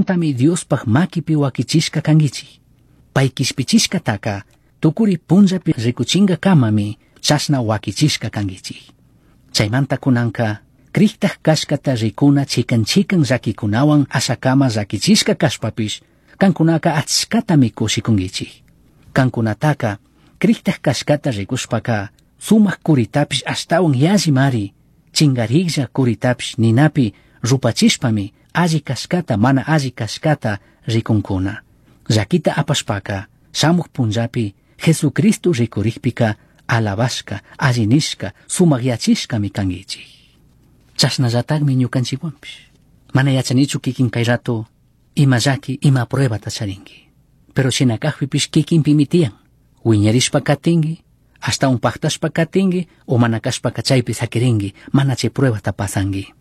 Tami Diospaj maquipi huaquichishca canguichij. Pai quishpichishcataca tucuri punllapi ricuchingacamami chashna huaquichishca canguichij. Chaimanta cunanca crijtaj cashcata ricuna chican chican llaquicunahuan ashacama llaquichishca cashpapish cancunaca achcatami cushicunguichij. Cancunataca crijtaj cashcata ricushpaca sumaj curitapish ashtahuan yallimari chingarijlla curitapish ninapi rupachishpami alli cashcata mana alli cashcata ricuncuna. Llaquita apashpaca shamuj punllapi Jesucristo ricurijpica alabashca, alli nishca, sumajyachishcami canguichij. Chashnallatajmi ñucanchikwanpish. Mana yachanichu kikin kay rato ima llaqui, ima pruebata charinki. Pero shina kajpipish kikinpimi tiyan. Wiñarishpa katinki, ashtawan pajtashpa katinki o mana kashpaka chaypi saquirinki, mana chay pruebata pasanki.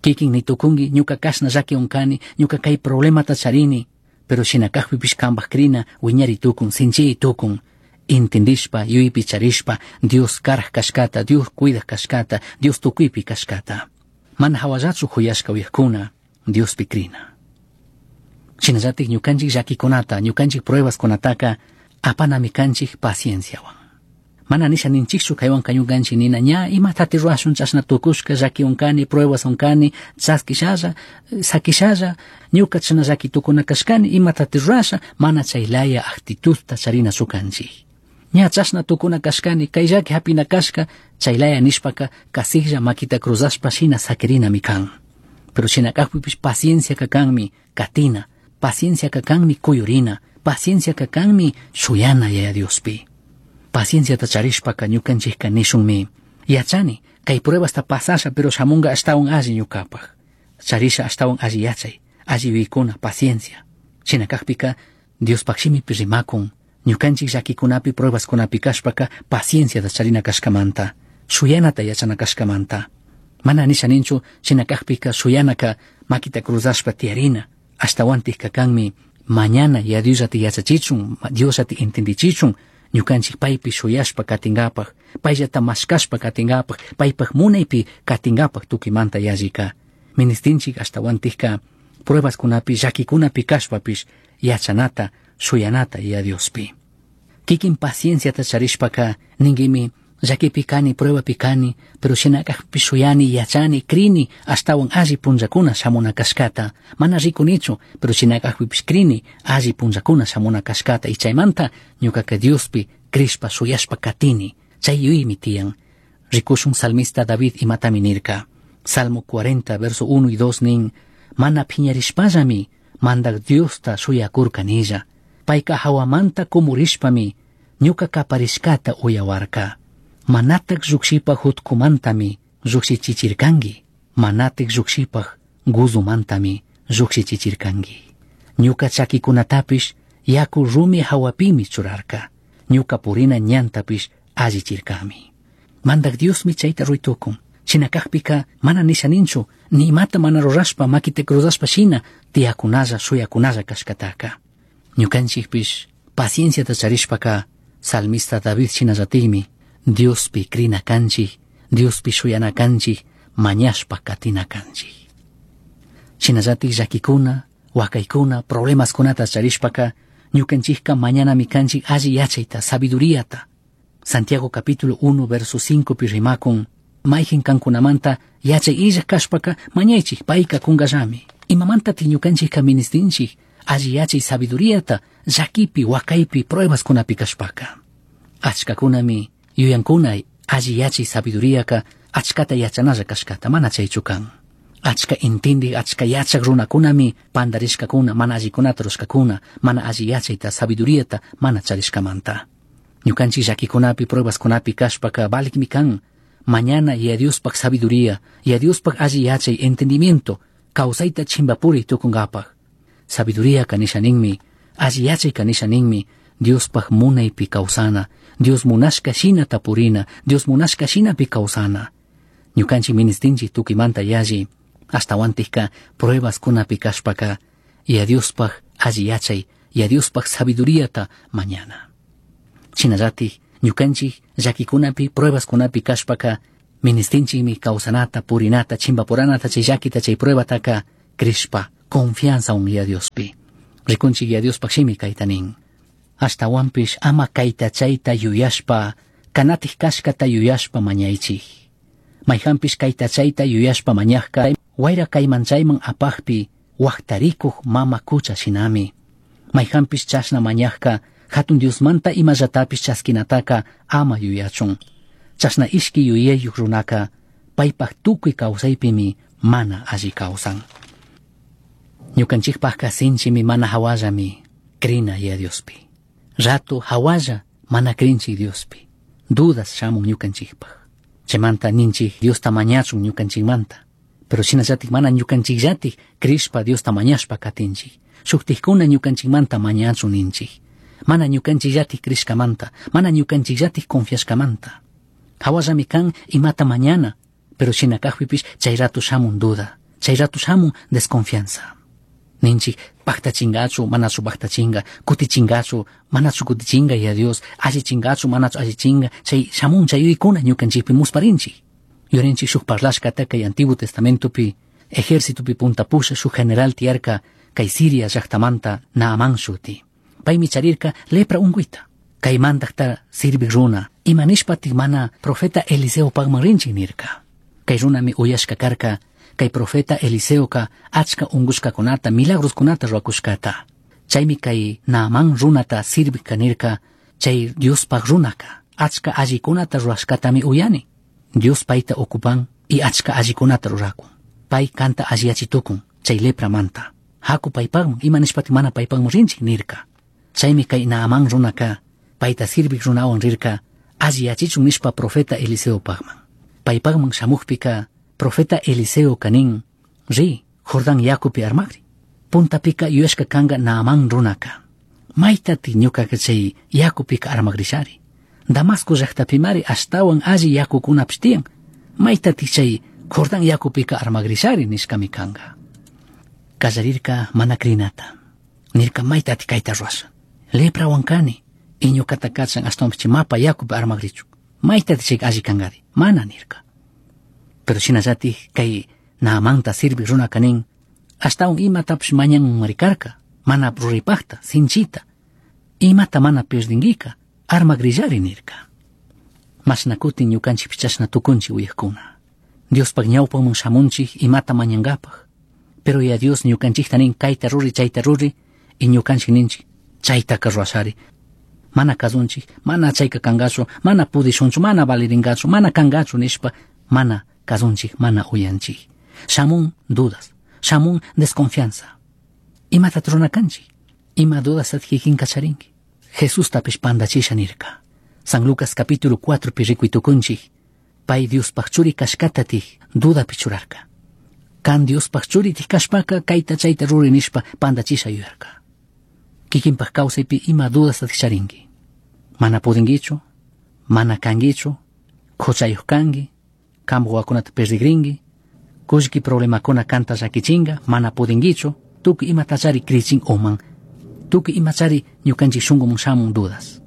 Kikin nitukunki, ñuka kashna llaquiwan kani, ñuka kay problemata charini, pero shina kajpipish kanpaj crina wiñari tukun, sinchiy tukun. Intindishpa, yuypi charishpa, Dios karaj kashkata, Dios cuidaj kashkata, Dios tukuypi kashkata. Mana hawallachu juyashka uyajkuna, Diospi crina. Shinallatik ñukanchik llaquikunata, ñukanchik pruebaskunataka apanami kanchik pacienciawan. Mana nisha ninchikchu kaywanka ñukanchik nina ña imatati rurashun chashna tukushka llaquiwan kani, pruebaswan kani, chaskishalla, sakishalla, ñuka chashna llaki tukuna kashkani, imatati rurasha, mana chay laya actitudta charinachu kanchik. Ña chashna tukuna kashkani, kay llaki hapina kashka, chay laya nishpaka kasiklla makita cruzashpa shina sakirinami kan. Pero shina kajpipish pacienciaka kanmi katina, pacienciaka kanmi kuyurina, pacienciaka kanmi shuyana Yaya Diospi. Pacienciata charishpaka ñukanchikka nishunmi, yachani, kay pruebasta pasasha pero shamunga ashtawan alli ñukapaj. Charisha ashtawan alli yachay, alli yuyaykuna, paciencia. Shina kajpika Diospaj shimipi rimakun, ñukanchik llaquikunapi pruebaskunapi kashpaka pacienciata charina kashkamanta, shuyanata yachana kashkamanta. Mana nisha ninchu shina kajpika shuyanaka makita cruzashpa tiyarina, ashtawantikka kanmi mañana ya Diosllata yachachichun, Diosllata entendichichun, ñukanchik paypi shuyashpa katingapaj, payllata mashkashpa katingapaj, paypaj munaypi katingapaj tukuymanta yallika. Ministinchik ashtawantikka pruebaskunapi llakikunapi kashpapish yachanata, shuyanata ya Diospi. Kikin pacienciata charishpaka ninkimi llakipi kani, pruebapi kani, pero shina kajpi shuyani, yachani, crini, ashtawan alli punllakuna shamuna kashkata. Mana rikunichu, pero shina kajpipish crini, alli punllakuna shamuna kashkata. Y chaymanta ñukaka Diospi crishpa shuyashpa katini. Chay yuyaymi tiyan. Rikushun salmista David imatami nirka. Salmo 40, verso 1 y 2 nin, mana phiñarishpallami Mandaj Diosta shuyakurkanilla. Payka hawamanta kumurishpami ñuka kaparishkata uyawarka. Manatak llukshipaj jutkumantami llukshichichirkanki. Manatak llukshipaj guzumantami llukshichichirkanki. Ñuka chakikunatapish yaku rumi hawapimi churarka. Ñuka purina ñantapish allichirkami. Mandaj Diosmi chayta ruytukun. Shina kajpika mana nisha ninchu, ni imata mana rurashpa makita cruzashpa shina tiyakunalla shuyakunalla kashkataka. Ñukanchikpish pacienciata charishpaka salmista David shinallatikmi Diospi crina kanchik, Diospi shuyana kanchik, mañashpa katina kanchik. Shinallatik llakikuna, wakaykuna, problemaskunata charishpaka ñukanchikka mañanami kanchik alli yachayta, sabiduriata. Santiago capítulo 1 verso 5 pi rimakun, mayjin kankunamanta yachay illaj kashpaka mañaychik payka kunkallami. Imamantatik ñukanchikka ministinchik alli yachay sabiduriata llakipi, wakaypi, pruebaskunapi kashpaka. Achkakunami yuyankuna alli yachay sabiduriaka achkata yachanalla kashkata, mana chaychu kan. Achka intindik, achka yachak runakunami pandarishkakuna, mana allikunata rurashkakuna, mana alli yachayta, sabiduriata mana charishkamanta. Ñukanchik llakikunapi, pruebaskunapi kashpaka valikmi kan mañana Yaya Diospaj sabiduría, Yaya Diospaj alli yachay, entendimiento, kawsayta chimpapuri tukunkapaj. Sabiduría kanisha ninmi, alli yachay kanisha ninmi, Diospaj munaypi kawsana, Dios munashka shinata purina, Dios munashka shinapi kawsana. Ñukanchik ministinchik tukuymanta yalli, ashtawantikka pruebaskunapi kashpaka, Yaya Diospaj alli yachay, Yaya Diospaj sabiduriata mañana. Shinallatik ñukanchik llakikunapi, pruebaskunapi kashpaka, ministinchikmi kawsanata, purinata, chimpapuranata chay llakita, chay pruebataka crishpa, Confianza un Yaya Diospi. Rikunchik Yaya Diospaj shimi kayta nin. Ashtawanpish ama kayta chayta yuyashpa, kanatik kashkata yuyashpa mañaychik. Mayhanpish kayta chayta yuyashpa mañajka, wayra kayman chayman apajpi, wajtarikuj mama kucha shinami. Mayhanpish chashna mañajka, hatun Diosmanta imallatapish chaskinataka ama yuyachun. Chashna ishki yuyayuj runaka, paypaj tukuy kawsaypimi mana alli kawsan. Ñukanchikpajka sinchimi mana hawallami krina Yaya Diospi. Rato hawalla mana krinchik Diospi. Dudas shamun ñukanchikpaj. Chaymanta ninchik Diosta mañachun ñukanchikmanta. Pero shinallatik mana ñukanchikllatik krishpa Diosta mañashpa katinchik. Shuktikkuna ñukanchikmanta mañachun ninchik. Mana ñukanchikllatik krishkamanta, mana ñukanchikllatik confiashkamanta. Hawallami kan imata mañana, pero shina kajpipish chay rato shamun duda, chay rato shamun desconfianza. Ninchik pajtachingachu, manachu pajtachinga, kutichingachu, manachu kutichinga ya Dios, allichingachu, manachu allichinga, chay shamun chay yuyaykuna ñukanchikpi musparinchik. Yurinchik shuk parlashkata kay Antiguo Testamentopi, ejércitopi punta pusha shuk general tiyarka kay Siria llaktamanta Naamán shuti. Paymi charirka lepra unguita. Kay mandakta sirvik runa, ima nishpatik mana profeta Eliseo pagman rinchik nirka. Kay runami uyashka karka, kay profeta Eliseoka achka ungushkakunata, milagroskunata rurakushkata. Chaymi kay Naamán runata sirvik nirka, chay Diospaj runaka, achka allikunata rurashkatami uyani. Dios payta ocupan y achka allikunata rurakun. Pay kanta alliyachitukun, chay lepramanta. Haku paypagman, ima nishpatik mana paypagman rinchik nirka. Chaymi kay Naamán runaka, payta sirvik runawan rirka, alliyachichun nishpa profeta Eliseo pagman. Paypagman shamukpika, profeta Eliseo kanin, ri, Jordán yakupi armakri. Puntapika yuyashka kanga Naamán runaka. Maytati ñukaka chay yakupika armakrishari. Damasco llaqtapimari ashtawan alli yakukunapish tiyan. Maytati chay Jordán yakupika armakrishari nishkami kanga. Kallarirka mana krinata. Nirka maytati kayta ruwasha. Leprawan kani. Y ñukata kachan ashtawanpish chay mapa yakupi armakrichun. Maytati chay alli kankari. Mana nirka. Pero shinallatik kay Naamanta sirvik runaka nin, ashtawan imatapish mañanmari karka, mana ruraypakta, sinchita. Imata mana pierdinkika, armakrillari nirka. Mashna kutin ñukanchikpish chashna tukunchik uyajkuna. Diospaj ñawpaman shamunchik imata mañankapaj. Pero ya Dios ñukanchikta nin kayta ruri, chayta ruri, y ñukanchik ninchik chaytaka ruwashari. Mana kasunchik, mana chayka kankachu, mana pudishunchu, mana valirinkachu, mana kankachu nishpa, mana kasunchik, mana uyanchik. Shamun dudas, shamun desconfianza. Imata rurana kanchik? Ima dudas kikinka charinki? Jesustapish pandachisha nirka. San Lucas capítulo 4 pi rikuy tukunchik. Pay Diospaj churi kashkatatik dudapi churarka. Kan Diospaj churitik kashpaka kayta chayta ruri nishpa pandachisha yuyarka. Kikinpaj kawsaypi ima dudastatik charinki. Mana pudinkichu, mana kankichu, huchayuq kanki, kampak wawakunata perdigrinki, kullki problemakuna kanta llakichinka, mana pudinkichu, tukuy imatachari krichin uman, tukuy imachari ñukanchik shunkuman shamun dudas.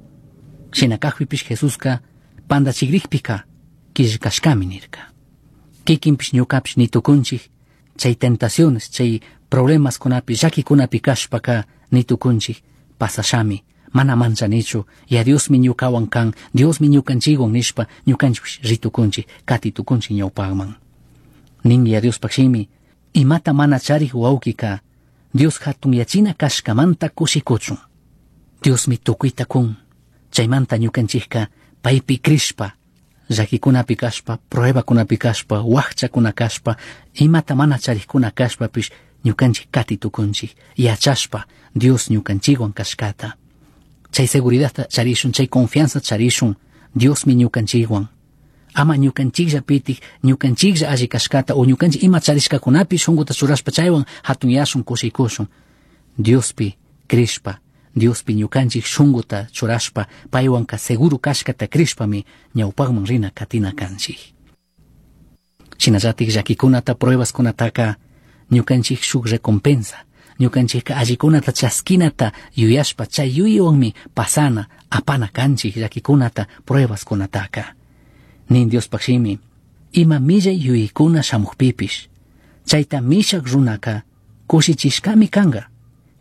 Shina kajpipish Jesuska pandachikrijpika killkashkami nirka. Kikinpish ñukapish nitukunchik, chay tentaciones, chay problemaskunapi, llakikunapi kashpaka nitukunchik, pasashami, mana manchanichu, ya Diosmi ñukawan kan, Diosmi ñukanchikwan nishpa ñukanchikpish ritukunchik, katitukunchik ñawpakman. Nin ya Diospaj shimi, imata mana charik wawkika, Dios hatunyachina kashkamanta kushikuchun. Diosmi tukuyta kun, chaymanta ñukanchikka paypi krishpa, llakikunapi kashpa, pruebakunapi kashpa, wakchakuna kashpa, imata mana charikkuna kashpapish ñukanchik katitukunchik, yachashpa Dios ñukanchikwan kashkata. Chay seguridadta charishun, chay confianza charishun, Diosmi ñukanchikwan. Ama ñukanchikllapitik, ñukanchiklla alli kashkata o ñukanchik ima charishkakunapi shunkuta churashpa chaywan hatunyashun, kushikushun. Diospi krishpa, Diospi ñukanchik shunkuta churashpa, paywanka seguro kashkata krishpami ñawpakman rina katina kanchik. Shinallatik llakikunata, pruebaskunataka ñukanchik shuk recompensa, ñukanchikka allikunata chaskinata yuyashpa chay yuyaywanmi pasana, apana kanchik llakikunata, pruebaskunataka. Nin Diospaj shimi, ima millay yuyaykuna shamukpipish, chayta mishak runaka cushichishcami canga.